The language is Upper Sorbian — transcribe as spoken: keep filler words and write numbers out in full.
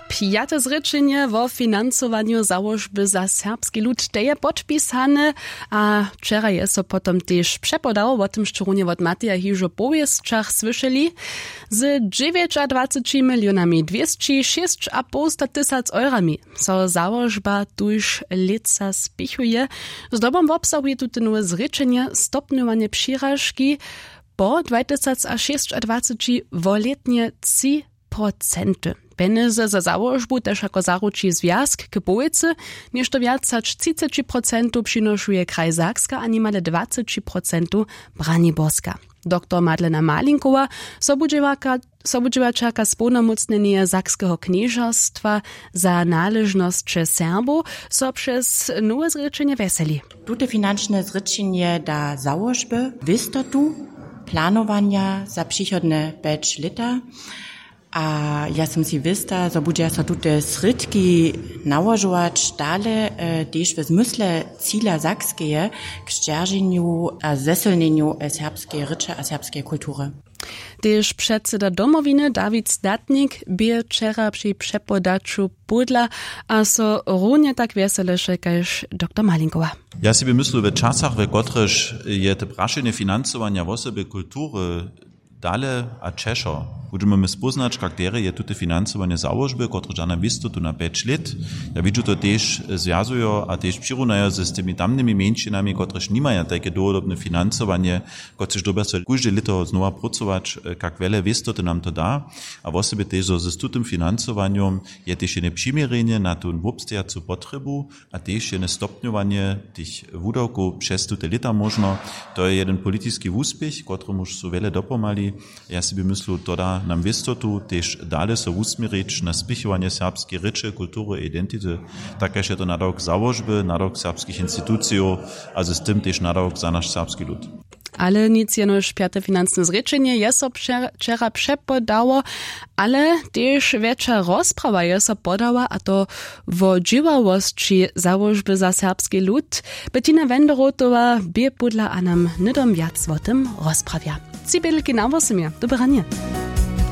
Pjate zrěčenje wo financowanju załožby za serbski lud, te je podpisane. A wčera je so potom tež přepodał, wo tym šćerunie wot Mateja hižo powěsćach słyšeli. Z dźewjećadwaceći milionami dwěsći šěsćapołsta tysac eurami so załožba tuž lětsa spěchuje. Zdobom wobsahuje tute nowe zrěčenje stopnjowanje přiražki po dwajtysac a šěsćadwaceći wolětnje tři procenty. Pjenjezy za załožbu tež jako zaruči zwjazk k połojcy. Něšto wjac hač třiceći procentow přinošuje kraj Sakska a nimale dwaceći procentow Braniborska. Doktor Madlena Malinkowa, sobudźěłaćerka społnomócnjenja sakskeho knježerstwa za naležnosće Serbow, so přez nowe zrěčenje wjeseli. Tute finančne zrěčenje da załožby wěstotu planowanja za přichodne pjeć lěta. A ja sym si wěsta, zo budźeja so tute srědki nałožować dale, tež w zmysle cila sakskeje k sćerženju a zesylnjenju serbskeje rěče a serbskeje kultury. Tež předseda Domowiny Dawid Statnik bě wčera při přepodaću pódla a so runje tak wjeseleše kaž doktor Malinkowa. Ja sej bě myslu, we časach, we kotrychž je te prašenje financowanja wosebje kultury dale a ćežšo, budźemy my spóznać, kak derje je tute financowanje załožby, kotrež da nam wěstotu na pjeć lět. Ja widźu to tež zwjazujo a tež přirunajo z tymi tamnymi mjeńšinami, kotrež nimaja tajke dołhodobne financowanje, kotrež dyrbja so kóžde lěto znowa prócować, kak wjele wěstoty nam to da. A wosebje tež zo z tutym financowanjom je tež jene přiměrjenje na tu wobstejacu potrjebu a tež jene stopnjowanje tych wudawkow přez tute lěta móžno. To je jedyn politiski wuspěch, kotremuž su wjele dopomhali. Ja sej bě myslu, to da nam wěstotu tež dale so wusměrić na spěchowanje serbskeje rěče, kultury a identity, tak kaž je to nadawk załožby, nadawk serbskich institucijow a z tym tež nadawk za naš serbski lud. Ale nic jenož pjate financne zrěčenje je so wčera přepodało, ale tež wjetša rozprawa je so podała, a to wo dźěławosći załožby za serbski lud. Bettina Wenderotowa bě pódla a nam hnydom wjac wo tym rozprawja. Tři bědelki na wosomje. Dobre ranje.